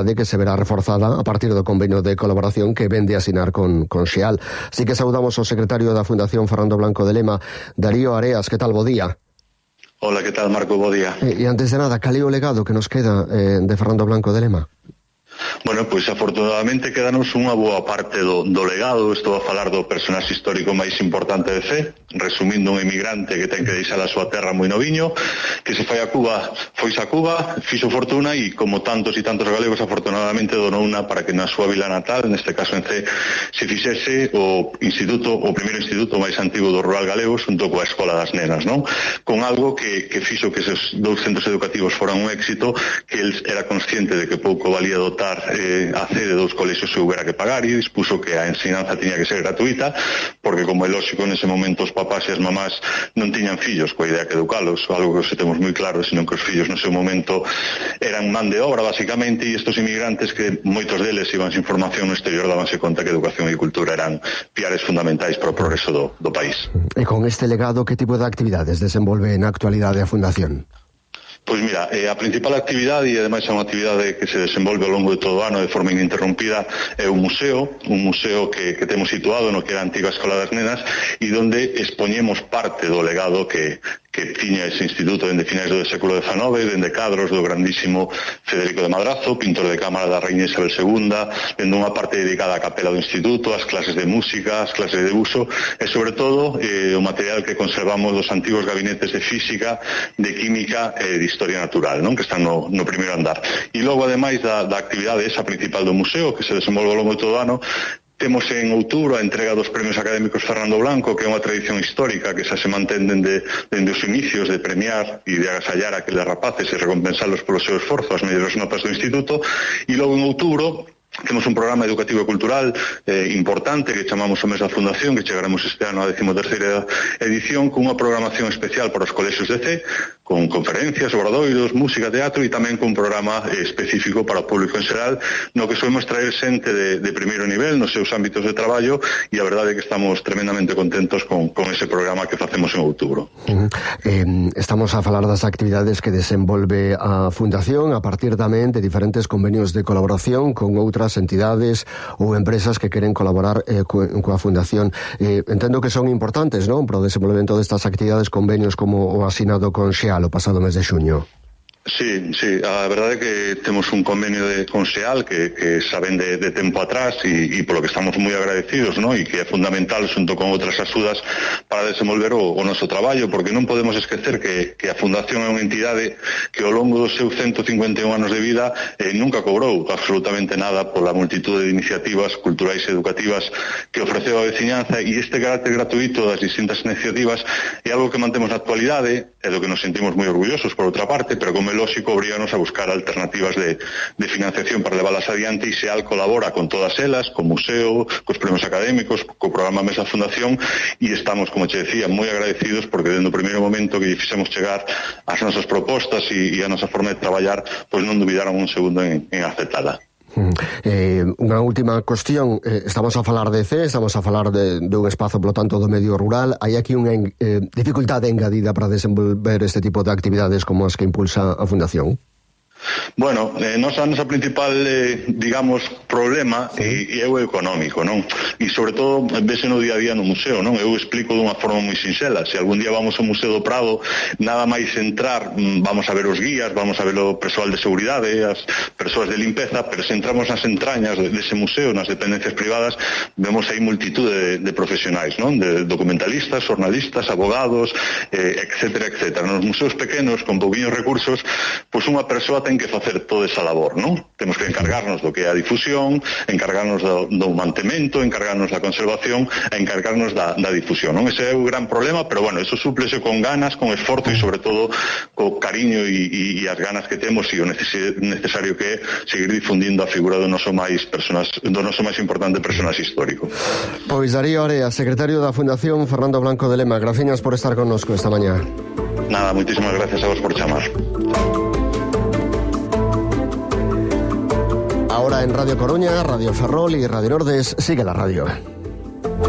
de que se verá reforzada a partir do convenio de colaboración que vende a asinar con Xeal. Así que saudamos ao secretario da Fundación Fernando Blanco de Lema, Darío Areas. Que tal, bo día? Hola, que tal, Marco? Bo día. E antes de nada, cal é o legado que nos queda de Fernando Blanco de Lema? Bueno, pois afortunadamente quedanos unha boa parte do legado. Estou a falar do personaxe histórico máis importante de Cee, resumindo, un emigrante que ten que deixar a súa terra moi noviño, que se foi a Cuba, foise a Cuba, fixo fortuna e, como tantos e tantos galegos, afortunadamente donou unha para que na súa vila natal, neste caso en Cee, se fixese o primeiro instituto máis antigo do rural galego, xunto coa Escola das Nenas, non? Con algo que fixo que esos dous centros educativos foran un éxito, que el era consciente de que pouco valía dotar a Cee de dous colexios se houbera que pagar, e dispuso que a ensinanza tiña que ser gratuita, porque, como é lógico, nese momento os papás e as mamás non tiñan fillos coa idea que educalos, algo que os temos moi claro, senón que os fillos no seu momento eran man de obra, basicamente, e estos inmigrantes, que moitos deles iban sin formación no exterior, dábanse conta que educación e cultura eran piares fundamentais para o progreso do país. E con este legado, que tipo de actividades desenvolve na actualidade a Fundación? Pois mira, a principal actividade, e ademais é unha actividade que se desenvolve ao longo de todo o ano de forma ininterrompida, é un museo que temos situado no que era a antiga Escola das Nenas, e onde expoñemos parte do legado que tiña ese instituto dende finais do século XIX, dende cadros do grandísimo Federico de Madrazo, pintor de cámara da Reina Isabel II, dende unha parte dedicada á capela do instituto, ás clases de música, ás clases de uso, e sobre todo o material que conservamos dos antigos gabinetes de física, de química e de historia natural, non? Que están no primeiro andar. E logo, ademais da actividade esa principal do museo, que se desenvolve ao longo de todo o ano, temos en outubro a entrega dos premios académicos Fernando Blanco, que é unha tradición histórica que xa se mantén dende os inicios, de premiar e de agasallar a aqueles rapaces e recompensalos polo seu esforzo, as mellores notas do instituto. E logo en outubro temos un programa educativo e cultural importante que chamamos o mes da Fundación, que chegaremos este ano a 13ª edición, con unha programación especial para os colexios de Cee, con conferencias, obradoiros, música, teatro, e tamén con un programa específico para o público en xeral, no que soemos traer xente de primeiro nivel nos seus ámbitos de traballo, e a verdade é que estamos tremendamente contentos con ese programa que facemos en outubro. Estamos a falar das actividades que desenvolve a Fundación a partir tamén de diferentes convenios de colaboración con outras entidades ou empresas que queren colaborar coa Fundación. Entendo que son importantes, non, para o desenvolvemento destas actividades, convenios como o asinado con Xeal o pasado mes de xuño. Sí, a verdade é que temos un convenio con Xeal que xa ven de tempo atrás, e polo que estamos moi agradecidos, non? E que é fundamental, xunto con outras axudas, para desenvolver o noso traballo, porque non podemos esquecer que a Fundación é unha entidade que ao longo dos seus 151 anos de vida nunca cobrou absolutamente nada pola multitude de iniciativas culturais e educativas que ofreceu a veciñanza, e este carácter gratuito das distintas iniciativas é algo que mantemos na actualidade, e do que nos sentimos moi orgullosos, por outra parte, pero como é lógico, obriganos a buscar alternativas de financiación para leválas adiante, e Xeal colabora con todas elas, co museo, cos premios académicos, co programa Mesa Fundación, e estamos, como che decía, moi agradecidos, porque dende o primeiro momento que lle fixemos chegar as nosas propostas e a nosa forma de traballar, pois non dubidaron un segundo en aceptala. Unha última cuestión, estamos a falar de Cee, estamos a falar dun espazo, polo tanto, do medio rural. Hai aquí unha dificultade engadida para desenvolver este tipo de actividades como as que impulsa a Fundación? Bueno, a nosa principal, digamos, problema é o económico, non? E, sobre todo, vese no día a día no museo, non? Eu explico dunha forma moi sinxela. Se algún día vamos ao Museo do Prado, nada máis entrar, vamos a ver os guías, vamos a ver o persoal de seguridade, as persoas de limpeza, pero se entramos nas entrañas dese museo, nas dependencias privadas, vemos aí multitude de profesionais, non? De documentalistas, xornalistas, abogados, etcétera, etcétera. Nos museos pequenos, con pouquiños recursos, pois unha persoa ten que facer toda esa labor, non? Temos que encargarnos do que é a difusión, encargarnos do mantemento, encargarnos da conservación, e encargarnos da difusión, non? Ese é o gran problema, pero bueno, eso súplese con ganas, con esforzo e, sobre todo, co cariño e as ganas que temos, e o necesario que é seguir difundindo a figura do noso máis importante personaxe histórico. Pois Darío Areas, secretario da Fundación Fernando Blanco de Lema, graciñas por estar connosco esta mañá. Nada, moitísimas gracias a vos por chamar. Ahora en Radio Coruña, Radio Ferrol y Radio Nordes sigue la radio.